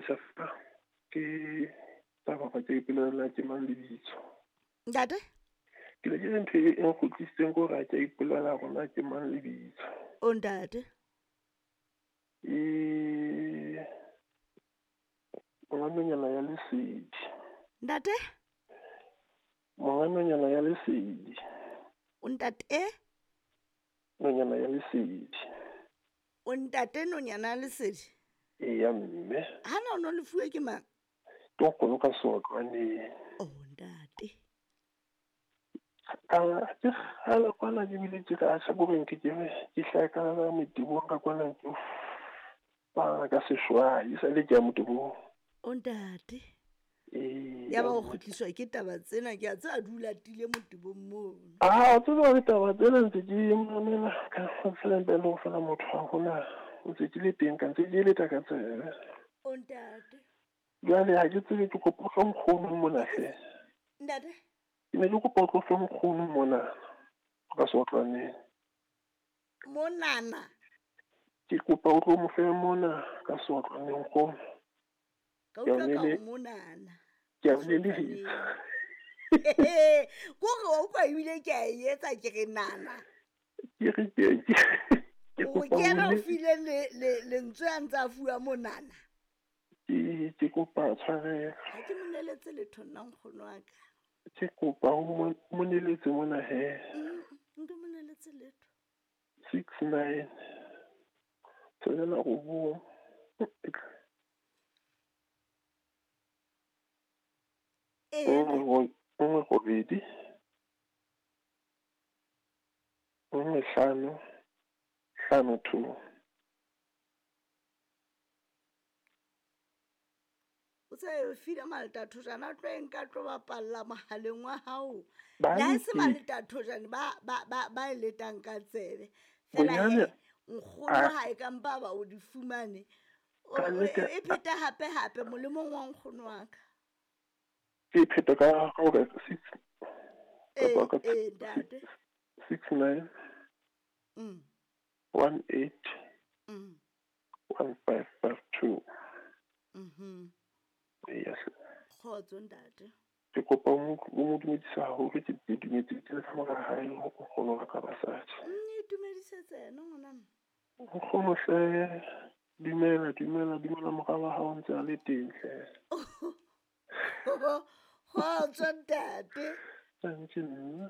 Makgotlisisa fa ke taba ga ke ipolelela ke mang lebitso. Ntate? Ke ne ke re ntho e e nkgutlisitseng ke hore ha ke a ipolela hore na ke mang lebitso. O ntate? E monga nonyana ya lesedi. Ntate? Monga nonyana ya lesedi. O ntate? Nonyana ya lesedi. O ntate nonyana ya lesedi? Eya mme. Hana o no lefuwe ke mang? Ke nkgono ka seotlwaneng. O ntate. Ka ke kgale kwana ke bile ke ka hlakoreng ke ke ke hlaha ka motebong ka kwana ke fana ka seshwai e sale ke ya motebong. O ntate. Ee. Ya ba o kgutliswa ke taba tsena ke a tseba di o latile motebong mono. Ah, tseba ditaba tsena ntse ke mamela ka fela ntle le ho fela motho ha hona ntse ke le teng ka ntse ke leta ka tsebe. O ntate. Jwale ha ke tsebe ke kopa o fe nkgono mona hle. Ntate? Ke ne ke kopa o tlo fe nkgono mona ka seotlwaneng. Monana? Ke kopa o tlo mo fe mona ka seotlwaneng nkgono. Ka utlwa ka o monana. Ke a o lelehisa. Ko re wa utlwa ebile ke a e etsa ke re nana. Ke re ke ke O kopa ke yena o o file lentswe a ntse a fuwa monana. Ke kopa tshwarelo. Ha ke mo neletse letho nna nkgono wa ka. Ke kopa o mo neletse mona he. Nka mo neletse letho. 6 9 tshelela robong. Ee. Nngwe robedi. 1 5 5 2. O se file maltathojana a tlo e nka tlo bapalla mohaleng wa hao. Ba Le ha e se ntse- maltathojane ba e letang ka tsebe. Fela Bonyane he, nkgono a- ha e ka mpa ba o di fumane. Ka nnete E pheta hape hape molemong wa nkgono wa ka. Ke pheta ka hore 6 Ee, kapa ka ee, ntate. 6 9 1 8 1 5 5 2. Eya hle. Kgotso ntate. Ke kopa o mo dumedise haholo, ke dumetse ke le ka mora hae le nkgono wa ka basadi. Itumedisetse yena ngwana mme. Nkgono hle, dumela, dumela, dumela mora wa hao ntse a le teng hle. Kgotso ntate. Thank you.